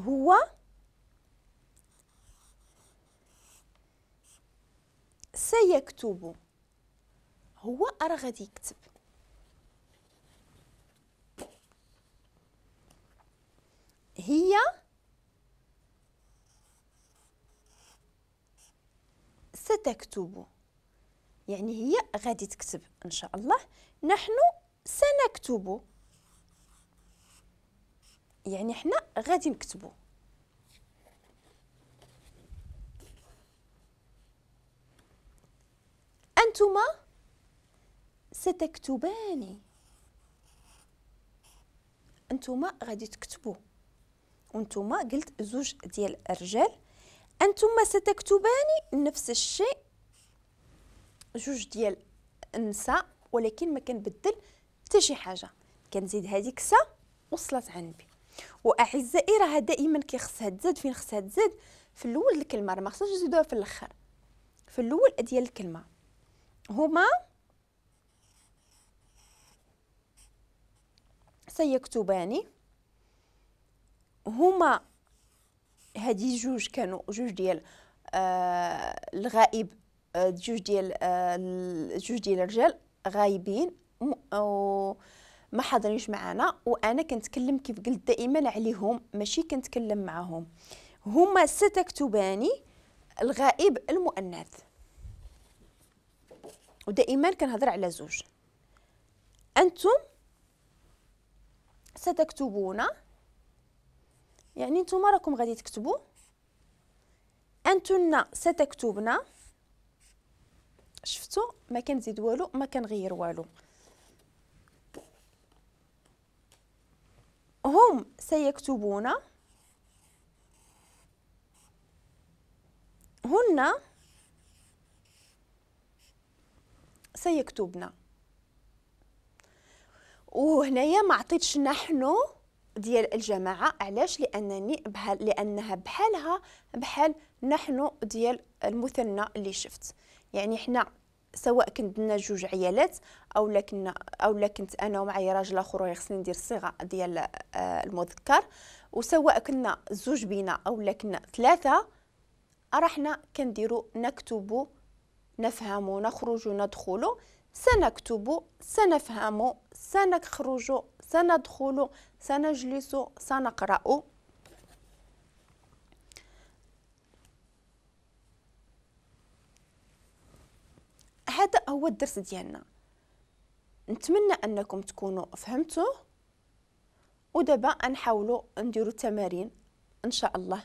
هو سيكتب، هو راه غادي يكتب. هي ستكتب، يعني هي غادي تكتب إن شاء الله. نحن سنكتب، يعني حنا غادي نكتبو. أنتما ستكتبان، أنتما غادي تكتبوا، وانتما قلت زوج ديال الرجال. أنتما ستكتبان نفس الشيء، جوج ديال النساء، ولكن ما كنبدل حتى شي حاجة، كنزيد هذيك س وصلت على النبي. واعزائي راه دائما كيخصها تزاد، فين خصها تزاد؟ في الاول الكلمة، راه ما خصناش نزيدوها في الاخر، في الاول ديال الكلمة. هما سيكتبان، هما هادي جوج كانوا جوج ديال الغائب، جوج ديال الرجال غايبين ما حاضرينش معنا، وانا كنتكلم كيف قلت دائما عليهم، ماشي كنتكلم معاهم. هما ستكتبان الغائب المؤنث، ودائما كنهضر على زوج. انتم ستكتبون، يعني نتوما راكم غادي تكتبوا. انتن ستكتبن، شفتوا ما كنزيد والو، ما كنغير والو. هم سيكتبون، هن سيكتبن. وهنايا ما عطيتش نحن ديال الجماعة، علاش؟ لانني لانها بحالها بحال نحن ديال المثنى اللي شفت. يعني حنا سواء كنا جوج عيالات او لا كنا او لا كنت انا ومعايا راجل اخر خصني ندير الصيغة ديال المذكر، وسواء كنا زوج بينا او لا كنا ثلاثة، راه حنا كنديروا نكتب، نفهم، نخرج، ندخل، سنكتب، سنفهم، سنخرج، سندخل، سنجلس، سنقرأ. هذا هو الدرس ديالنا، نتمنى انكم تكونوا فهمتوه. ودابا نحاولوا نديروا تمارين ان شاء الله.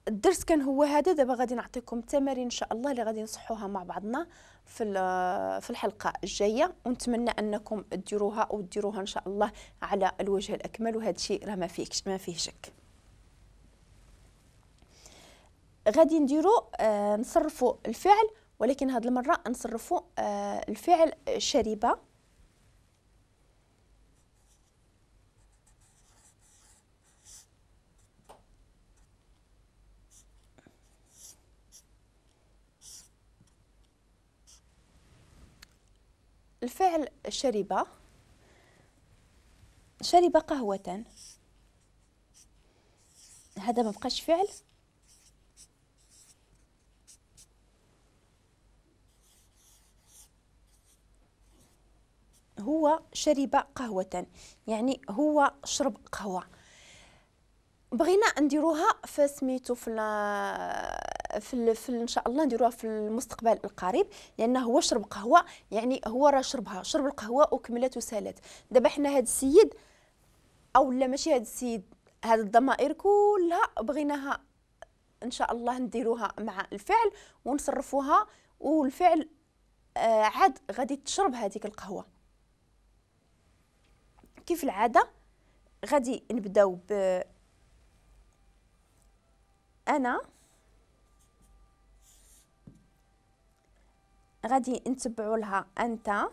الدرس كان هو هذا. دابا غادي نعطيكم تمارين ان شاء الله اللي غادي نصحوها مع بعضنا في الحلقة الجاية، ونتمنى انكم ديروها وديروها ان شاء الله على الوجه الاكمل. وهذا الشيء راه ما فيه شك. غادي نديرو نصرفوا الفعل، ولكن هذه المرة نصرفوا الفعل شرب. الفعل شرب، شرب قهوة، هذا ما بقاش فعل، هو شرب قهوة، يعني هو شرب قهوة. بغينا نديروها في سميتو في ان شاء الله نديروها في المستقبل القريب، لانه هو شرب قهوة، يعني هو راه شربها، شرب القهوة وكملت وسالت. دابا حنا هاد السيد او لا ماشي هاد السيد، هاد الضمائر كلها بغيناها ان شاء الله نديروها مع الفعل ونصرفوها، والفعل عاد غادي تشرب هذيك القهوة. كيف العادة غادي نبداو ب انا، غادي نتبعوا لها انت،